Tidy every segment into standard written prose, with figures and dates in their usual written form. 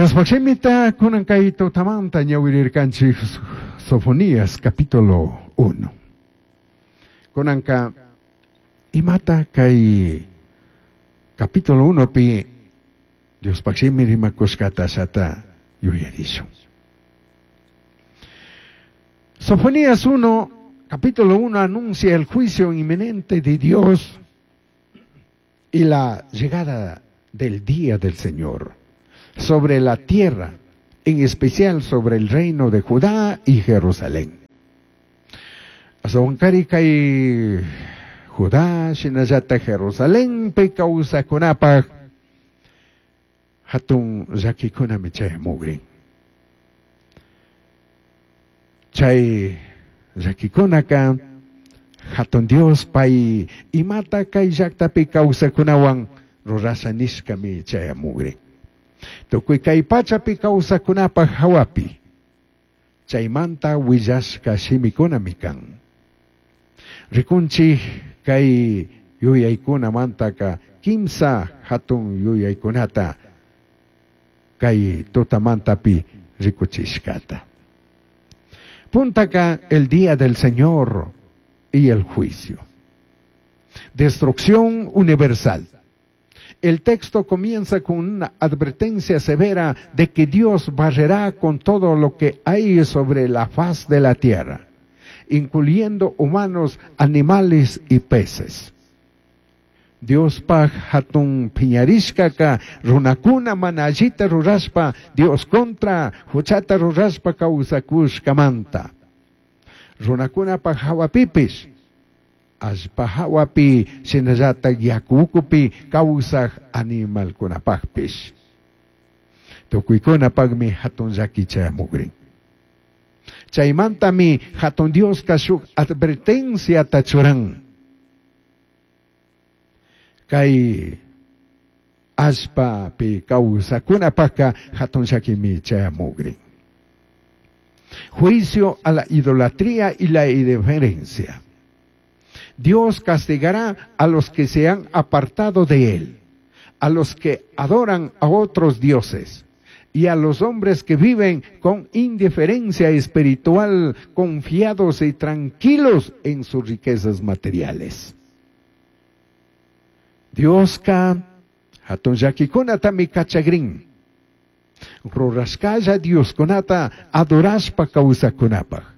Diospaj shimita kunan kay tutamanta ñawirirkanchik Sofonías capítulo 1. Kunanka imata kay capítulo 1pi Diospaj shimi rimakushkata ashata yuyarishun. Sofonías 1, capítulo 1 anuncia el juicio inminente de Dios y la llegada del día del Señor sobre la tierra, en especial sobre el reino de Judá y Jerusalén. Astahuancari kay Judá shinallata Jerusalenpi kawsakunapaj hatun llakikunami chayamugrin. Chay llakikunaka hatun Dios pay imata kay llaktapi kawsakunawan rurasha nishkami chayamugrin. Tukuy kay pachapi kawsakunapaj hawapi chaymanta willashka shimikunami kan. Rikunchik kay yuyaykunamantaka kimsa hatun yuyaykunata kay tutamantapi rikuchishkata. Puntaka el día del Señor y el juicio. Destrucción universal. El texto comienza con una advertencia severa de que Dios barrerá con todo lo que hay sobre la faz de la tierra, incluyendo humanos, animales y peces. Diospaj hatun piñarishkaka runakuna mana allita rurashpa Dios contra huchata rurashpa kawsakushkamanta. Runakunapaj hawapipish allpa hawapi shinallatak yaku ukupi kawsaj animalkunapajpish. Tukuykunapakmi hatun llaki chayamukrin. Chaymantami hatun Dioska shuk advertenciata churan. Kay allpapi kawsakunapajka hatun llakimi chayamukrin. Juicio a la idolatría y la indiferencia. Dios castigará a los que se han apartado de Él, a los que adoran a otros dioses y a los hombres que viven con indiferencia espiritual, confiados y tranquilos en sus riquezas materiales. Dioska hatun llakikunatami kachagrin. Rurashkalla Dioskunata adorashpa kawsakunapaj.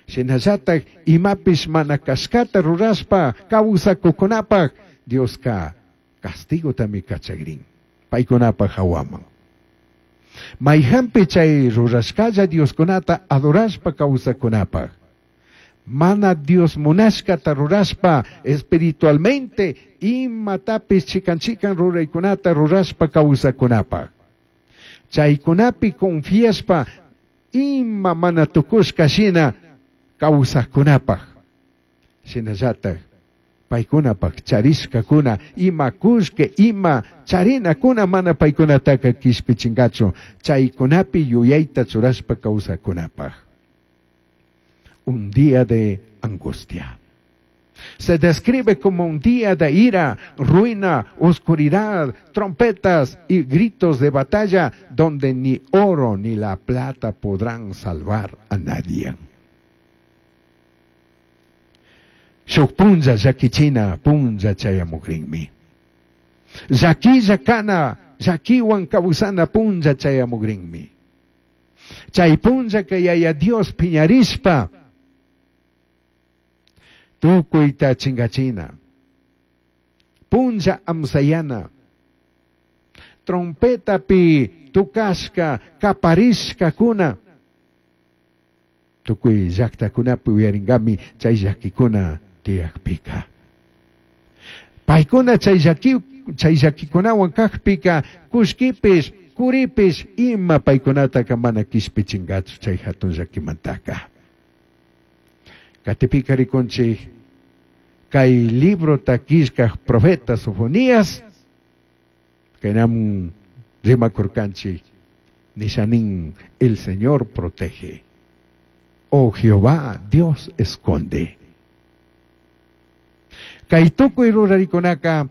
Shinallatak imapish mana kashkata rurashpa kawsakukunapaj Dioska castigotami kachagrin. Paykunapaj hawaman. Mayhanpi chay rurashkalla Dioskunata adorashpa kawsakunapaj. Mana Dios munashkata rurashpa espiritualmente imatapish chikan chikan ruraykunata rurashpa kawsakunapaj. Chaykunapi confiashpa ima mana tukushka shina kawsajkunapaj. Shinallatak paykunapaj charishkakuna ima kullki ima charinakuna mana paykunataka kishpichinkachu chaykunapi yuyayta churashpa kawsakunapaj. Un día de angustia. Se describe como un día de ira, ruina, oscuridad, trompetas y gritos de batalla, donde ni oro ni la plata podrán salvar a nadie. Shuk punlla llakichina punlla chayamukrinmi. Llakilla kana llakiwan kawsana punlla chayamukrinmi. Chay punllaka Yaya Dios piñarishpa tukuyta chingachina. Punlla amsayana. Trompetapi tukashka kaparishkakuna. Tukuy llaktakunapi uyaringami chay llakikuna tiyakpika. Paykuna chay llakikunawan kakpika kullkipish kuripish ima paykunataka mana kishpichinkachu chay hatun llakimantaka. Katipika rikunchik kay librota killkaj profeta Sofonías kaynamun rimakurkanchik nishanin el Señor protege. Oh Jehová, Dios esconde. Kay tukuy rurarikunaka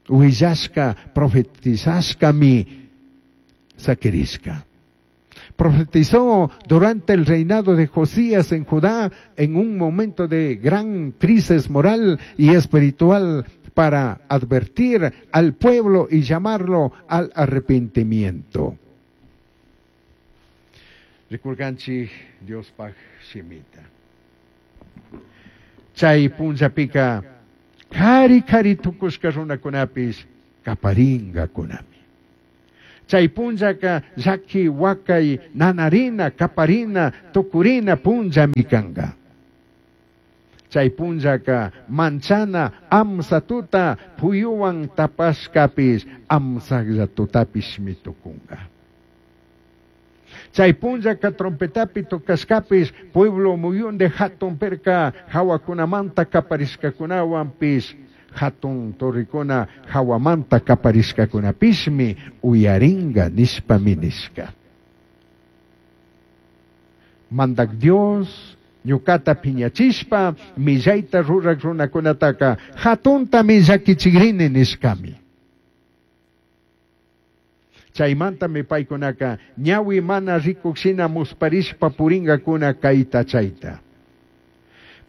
willashka profetizashkami. Saquirishca. Profetizó durante el reinado de Josías en Judá en un momento de gran crisis moral y espiritual para advertir al pueblo y llamarlo al arrepentimiento. Rikurkanchik Diospaj shimita. Chay punllapika kari kari tukushka runakunapish kaparingakunami. Chay punllaka llaki wakay nanarina kaparina tukurina punllami kanka. Chay punllaka manchana amsa tuta puyuwan tapashkapish amsaklla tutapishmi tukunka. Chay punllaka trompetapi tocashkapish pueblo muyunde hatun perka hawakunamanta kaparishkakunawanpish hatun torrikuna hawamanta kaparishkakunapishmi uyaringa nishpami nishka. Mandak Dios ñukata piñachishpa millayta rurak runakunataka hatuntami llakichikrini nishkami. Chaymantami paykunaka ñawi mana rikukshina musparishpa puringakuna kayta chayta.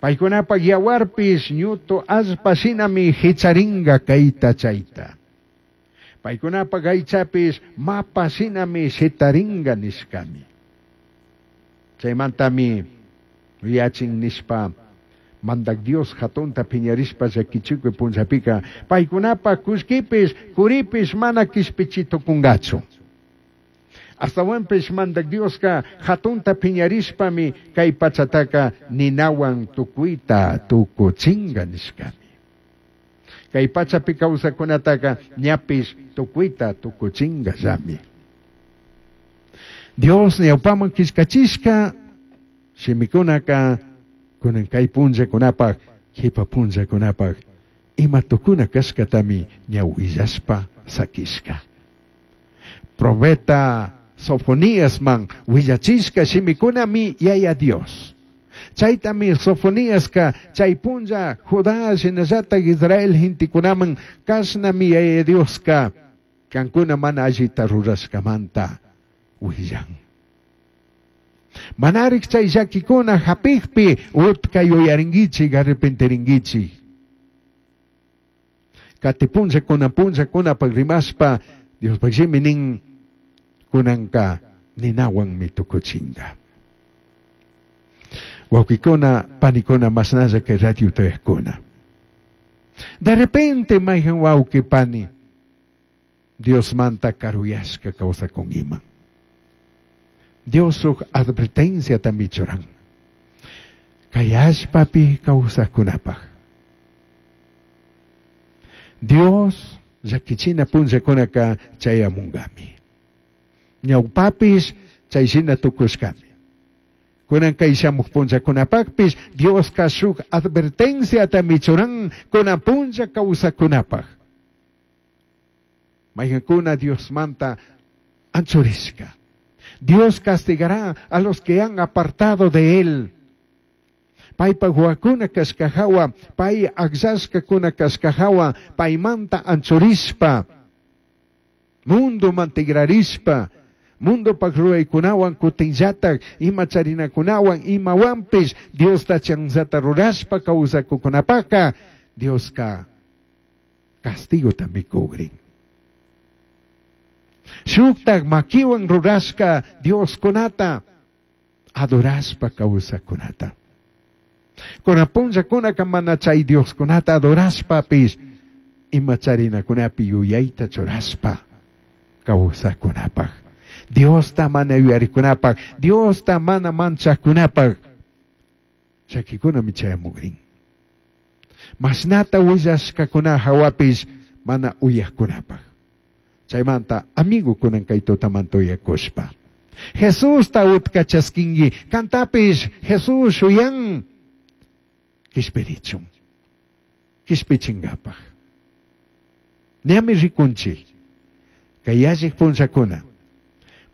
Paykunapak yawarpish ñutu allpa shinami hicharinga kayta chayta. Paykunapak aychapish mapa shinami shitaringa nishkami. Chaymantami yachin nishpa Mandak Dios hatunta piñarishpa llakichikuy punllapika paykunapak kullkipish kuripish mana kishpichi tukungachu. Astawanpish Mandak Dioska hatunta piñarishpami kay pachataka ninawan tukuyta tukuchinga nishkami. Kay pachapi kawsakunataka ñapish tukuyta tukuchingallami. Dios ñawpaman killkachishka shimikunaka kunan kay punllakunapaj qipa punllakunapaj ima tukuna kashkatami ña willashpa sakishka. Profeta Sofoníasman willachishka shimikunami Yaya Dios. Chaytami Sofoniaska chay punlla Judá shinallatak Israel gentekunaman kashnami Yaya Dioska kankuna mana allita rurashkamanta willan. Manarik chay llakikuna hapikpi utka yuyarinkichik arrepentirinkichik. Kati punllakuna punllakunapak rimashpa Diospaq shimi nin kunanka ninawanmi tukuchinka. Wawqikuna, panikuna, mashnalla kay radio tayakuna. De repente mayhan wawqi pani Diosmanta karuyashka kawsakunkiman. Dios huk advertenciatami churan. Kay allpapi kawsakunapaq. Dios llakichina punllakunaka chayamunkami. Ñawpapish chayshina tukushkami. Kunan kay shamuq punllakunapaqpish Dioska shuk advertenciatami churan kunan punlla kawsakunapaq. Mayqankuna Diosmanta anchurishka. Dios castigará a los que han apartado de él. Paypa huakuna kashkahawa, pay akllashkakuna kashkahawa, paymanta anchurishpa, mundo mantigrarishpa, mundopak ruraykunawan kutinllatak ima charinakunawan imawanpish Diosta chanzata rurashpa kawsakukunapaka Dioska castigotami kugrin. Shuktak makiwan rurashka Dioskunata adorashpa kawsakunata. Kunan punllakunaka mana chay Dioskunata adorashpapish ima charinakunapi yuyayta churashpa kawsakunapaq. Diosta mana yuyarikunapaq, Diosta mana manchakunapaq llakikunami chayamukrin. Mashnata willashkakuna hawapish mana uyaqkunapaq. Chaymanta amigo kunan kay tutamanta uyakushpa. Jesusta utka chaskinki, kantapish Jesus shuyan kishpirichun, kishpichinkapaq. Ñami rikunchik kay yallik punllakuna.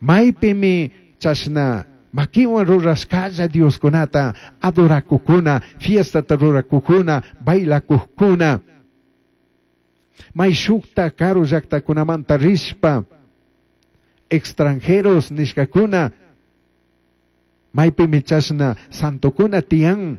Maypimi chashna makiwan rurashkalla Dioskunata adorakukuna, fiestata rurakukuna, bailakukuna. May shukta karu llaktakunamanta rishpa Extranjeros nishkakuna maypimi chashna santokuna tiyan,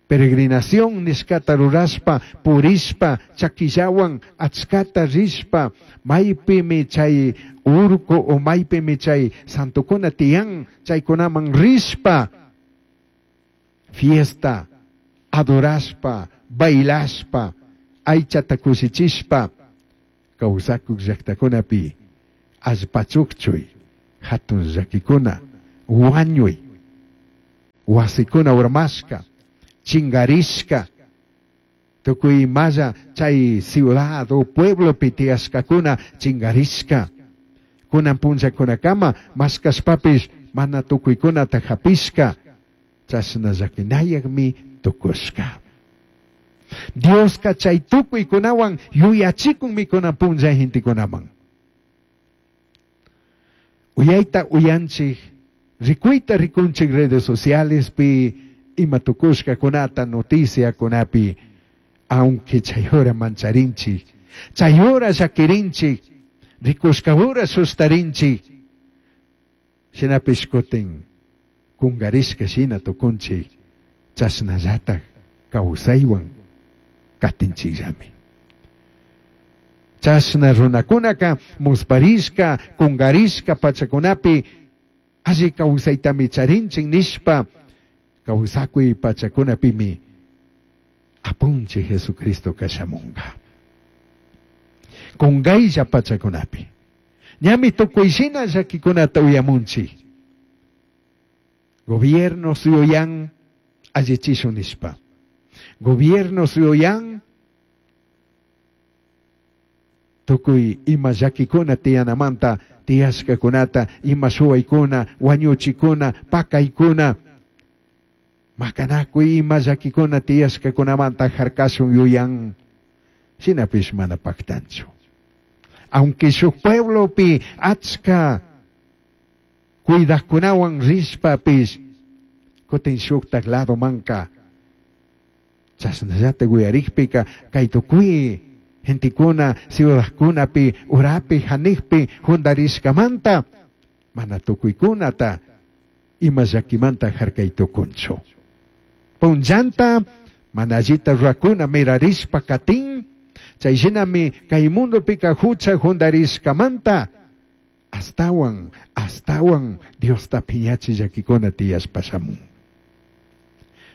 peregrinación nishkata rurashpa, purishpa, chakillawan achkata rishpa, maypimi chay urku o maypimi chay santokuna tiyan, chaykunaman rishpa, fiesta, adorashpa, bailashpa, aychata kushichishpa, kawsakuk llaktakunapi allpachukchuy, hatun llakikuna, wañuy, wasikuna urmashka, chingarishka, tukuy imalla chay ciudad o pueblopi tiyashkakuna chingarishka, kunan punllakunakama mashkashpapish mana tukuykunata hapishka, chashna llakinayakmi tukushka. Dioska chay tukuykunawan yuyachikunmi kunan punlla gentekunaman. Uyayta uyanchik, rikuyta rikunchik redes socialespi, ima tukushkakunata, noticiakunapi, aunque chay hora mancharinchik, chay hora llakirinchik, rikushka hora sustarinchik, shinapish kutin kungarishka shina tukunchik, chashnallatak kawsaywan katinchikllami. Chashna runakunaka musparishka, kungarishka pachakunapi alli kawsaytami charinchik nishpa kawsakuy pachakunapimi apunchik Jesucristo kashamunga. Kungaylla pachakunapi. Ñami tukuy shina llakikunata uyamunchik. Gobierno yuyan allichishun nishpa. Gobierno yuyan tukuy ima llakikuna tiyanamanta tiyashkakunata, ima shuwaykuna, wañuchikuna, pakaykuna, makanakuy ima llakikuna tiyashkakunamanta harkashun yuyan, shinapish mana paktanchu. Aunque shuk pueblopi achka cuidajkunawan rishpapish, kutin shuktak ladomanka chashnallatak uyarikpika kay tukuy gentekuna ciudadkunapi urapi hanijpi jundarishkamanta mana tukuykunata ima llakimanta harkay tukunchu. Punllanta mana allita rurakuna mirarishpa katin, chay shinami kay mundopika hucha jundarishkamanta astawan, astawan Diosta phiñachi llakikuna tiyashpa shamun.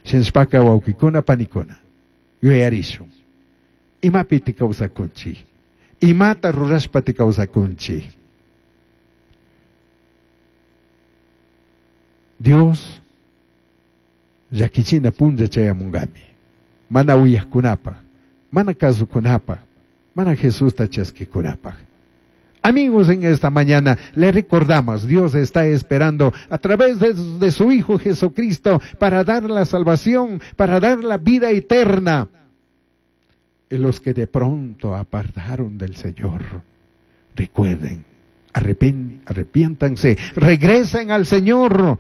Shinashpaka wawkikuna panikuna yuyarishun. Imapi kawsakunchik? Imata rurashpa kawsakunchik? Dios llakichina punlla chayamungami. Mana uyajkunapaj, mana kasukunapaj, mana Jesusta chaskikunapaj. Amigos, en esta mañana le recordamos, Dios está esperando a través de su Hijo Jesucristo para dar la salvación, para dar la vida eterna. Y los que de pronto apartaron del Señor, recuerden, arrepiéntanse, regresen al Señor,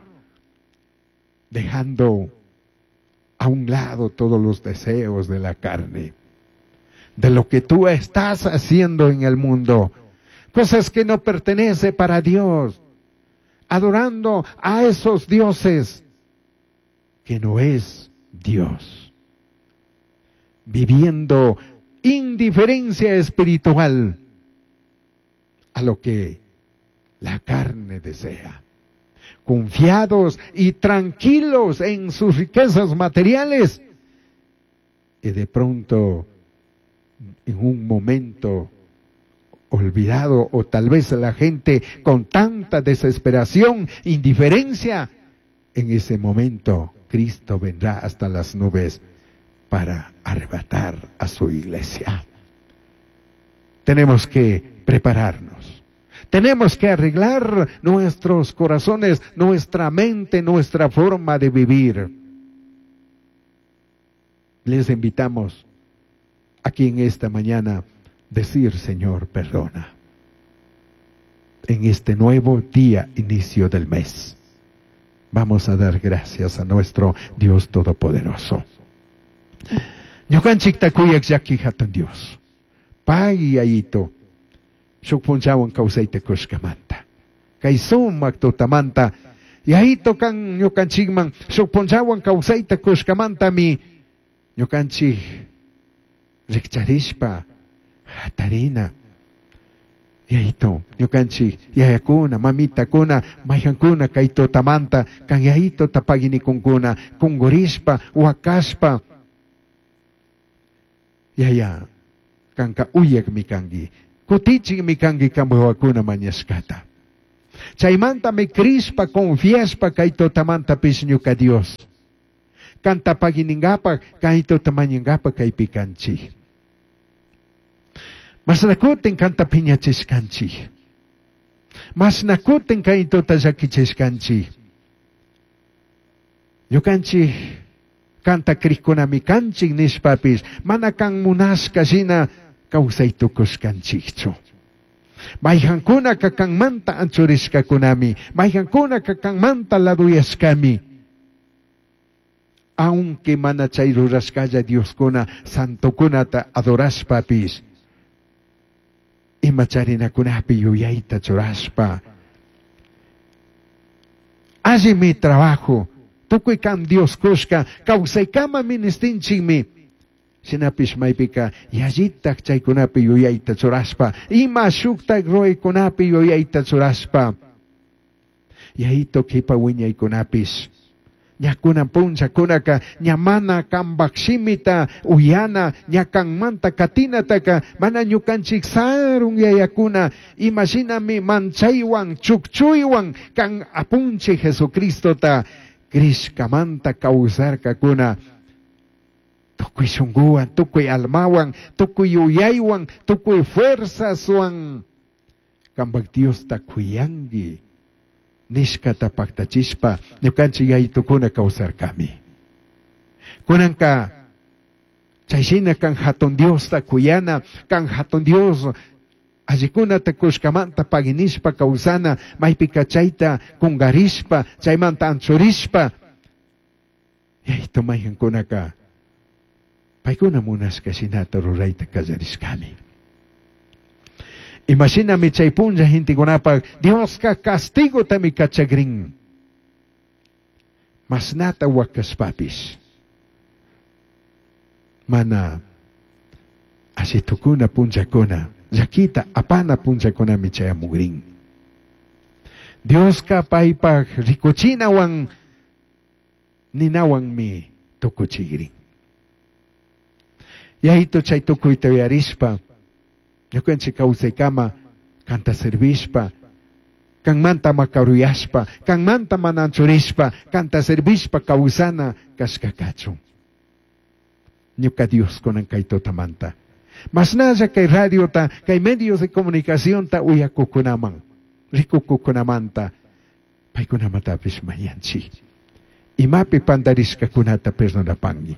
dejando a un lado todos los deseos de la carne, de lo que tú estás haciendo en el mundo, cosas que no pertenecen para Dios, adorando a esos dioses que no es Dios, viviendo indiferencia espiritual a lo que la carne desea, confiados y tranquilos en sus riquezas materiales, y de pronto, en un momento olvidado, o tal vez la gente con tanta desesperación, indiferencia, en ese momento Cristo vendrá hasta las nubes para arrebatar a su iglesia. Tenemos que prepararnos. Tenemos que arreglar nuestros corazones, nuestra mente, nuestra forma de vivir. Les invitamos aquí en esta mañana decir, Señor, perdona. En este nuevo día, inicio del mes, vamos a dar gracias a nuestro Dios Todopoderoso. Ñukanchikta kuyak llaki hatun Dios. Pay yayito. Shuk punllawan kawsayta kushkamanta. Kay sumak tutamanta Yayito kan ñukanchikman shuk punllawan kawsayta kushkamantami ñukanchik rikcharishpa hatarina. Yayito, ñukanchik yayakuna, mamitakuna, mayhankuna kay tutamanta kan yayitota paginikunkuna, kunkurishpa, wakashpa. Yaya, kanka uyakmi kanki, kutichikmi kanki kanpak wawakuna mañashkata. Chaymantami crishpa, confiashpa kay tutamantapish ñuka Dios. Kanta pagininkapak, kay tuta mañankapak kaypi kanchik. Mashna kutin kanta piñachishkanchik. Mashna kutin kay tuta llakichishkanchik. Ñukanchik kanta krikkunami kanchik nishpapis mana kan munashka shina kawsay tukushkanchikchu. Mayhankunaka kanmanta anchurishkakunami, mayhankunaka kanmanta laduyashkami. Aunque mana chay rurashkalla Dioskuna santokunata adorashpapis, ima charinakunapi yuyayta churashpa. Allimi trabajo, tukuy kan Dios kushka, kawsaykama ministinchikmi. Shinapish maypika yallitak chaykunapi yuyayta churashpa, ima shuktak ruraykunapi yuyayta churashpa. Yayito kipa wiñaykunapish. Ña kunan punllakunaka ña mana kanpak shimita uyana, ña kanmanta katinataka mana ñukanchik sarun yayakuna, imashinami manchaywan chukchuywan kan apunchik Jesucristota crishkamanta kawsarkakuna. Tukuy shunkuwan, tukuy almawan, tukuy yuyaywan, tukuy fuerzaswan kanpak Diosta kuyanki nishkata paktachishpa ñukanchik yayitukuna kawsarkami. Kunanka chayshina kan hatun Diosta kuyana, kan hatun Dios allikunata kushkamanta paginishpa kawsana, maypika chayta kunkarishpa, chaymanta anchurishpa, yayitu mayhankunaka paykuna munashka shinata rurayta kallarishkami. Imashinami chay punlla gentekunapak Dioska castigotami kachagrin. Mashnata wakashpapish mana allitukuna punllakuna, llakita apana punllakunami chayamugrin. Dioska paypak rikuchinawan ninawanmi tukuchigrin. Yayito chay tukuyta uyarishpa, ñukanchik kawsaykama kanta servishpa, kanmanta makaruyashpa, kanmanta mana anchurishpa, kanta servishpa kawsana kashka kachun. Ñuka Dios kunan kay tutamanta. Mashnalla kay radiota, kay medios de comunicacionta uyakukunaman, rikukukunamanta, paykunamatapish mañanchik. Imapi pandarishkakunata perdonapanki.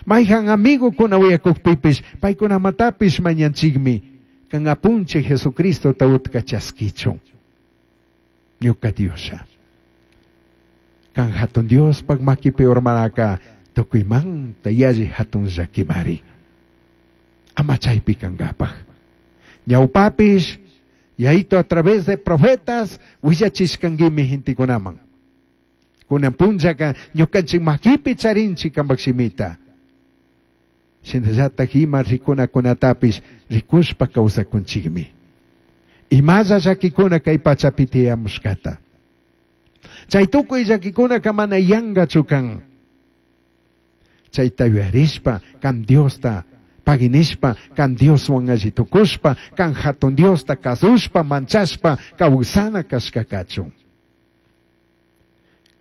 Mayhan amigokuna uyakukpipish, paykunamatapish mañanchikmi. Kan apunchik Jesucristota utka chaskichun. Ñuka Diosha. Kan hatun Diospak makipi urmanaka tukuymanta yalli hatun llakimari. Ama chaypi kankapak. Ñawpapish, Yayito a través de profetas willachishkankimi gentekunaman. Kunan punllaka ñukanchik makipi charinchik kanpak shimita. Shinallatak ima rikunakunatapish rikushpa kawsakunchikmi. Imalla llakikuna kay pachapi tiyamushkata. Chay tukuy llakikunaka mana yankachu kan. Chayta yuyarishpa kan Diosta paginishpa, kan Dioswan alli tukushpa, kan hatun Diosta kasushpa, manchashpa, kawsana kashka kachun.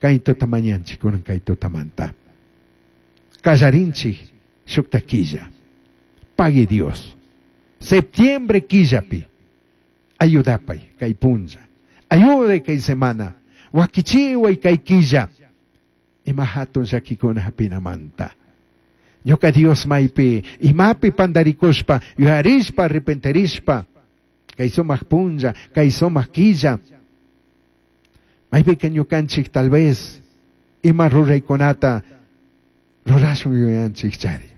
Kay tuta mañanchik kunan kay tutamanta. Kallarinchik shukta killa. Pagui Dios. Septiembre killapi. Ayudapay kay punlla. Ayude kay semana. Wakichiway kay killa. Ima hatun llakikuna hapinamanta. Ñuka Dios maypi imapi pandarikushpa, yuyarishpa, arrepentirishpa, kay sumak punlla, kay sumak killa. Maypika ñukanchik tal vez ima ruraykunata rurashun yuyanchik chari.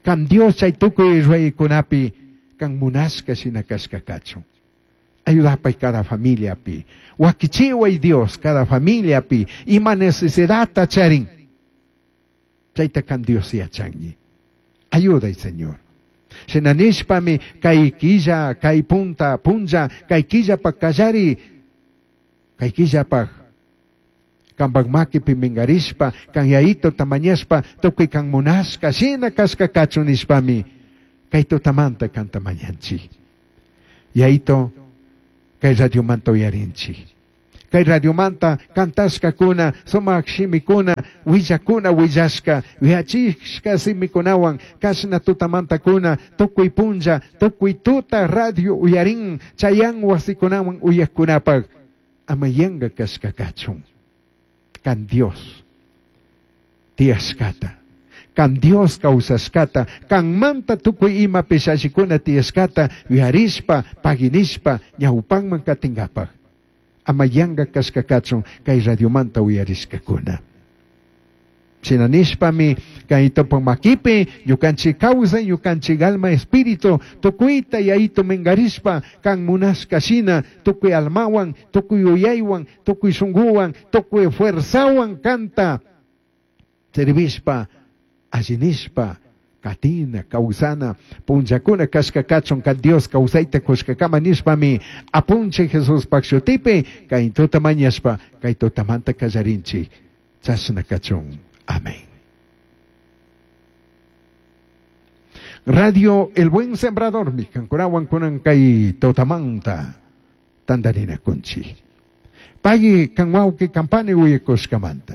Kan Dios chay tukuy ruraykunapi Kan munashka shina kashka kachun. Ayudapai cada familiapi. Wakichiway Dios cada familiapi. Ima necesidadta charin. Chayta kan Dios yachangi. Ayuday, Señor. Shina nishpami kay killa, kay punta, punlla, kay killapaj kallari, kay killapaj kanpak makipi mingarishpa, kan Yayitota mañashpa, tukuy kan munashka, shina kashka kachun nishpami, kay tutamanta kanta mañanchik. Yayito, kay radiomanta uyarinchik. Kay radiomanta kantashkakuna, sumak shimikuna, willakuna willashka, yachishka simikunawan, kashna tutamantakuna, tukuy punlla, tukuy tuta radio uyarin, chayan wasikunawan uyakkunapaj, ama yanka kashka kachun. Kan Dios tiyashkata, kan Dios kawsashkata, kanmanta tukuy ima pishashikuna tiyashkata, yuyarishpa, paginishpa, ñawpanman katingapaj. Ama yanka kashka kachun kay radiomanta uyarishkakuna. Shina nishpami kay topan makipi ñukanchik kawsay, ñukanchik alma espíritu tukuyta Yayito mingarishpa kan munashka shina tukuy almawan, tukuy yuyaywan, tukuy shunkuwan, tukuy fuerzawan kanta servishpa, allinishpa, katina, kawsana, punllakuna kashka kachun kan Dios kawsayta kushkakama nishpami apunchik Jesuspaj shutipi kay tuta mañashpa kay tutamanta kallarinchik. Chashna kachun. Amén. Radio El Buen Sembrador, mi kankunawan kunan kay tutamanta tandarina kunchi. Pagui kan wawki kampani uyekushkamanta.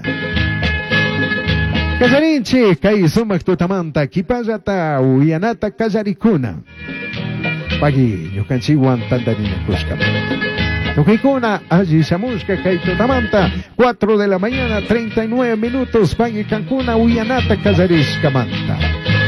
Kallarinchik kay sumak tutamanta kipallata uyanata kallarikuna. Pagui ñukanchikwan tandarina kushkamanta. Tukuykuna alli shamushka kay tutamanta 4 de la mañana 39 minutos pagui kankuna uyanata kallarishkamanta.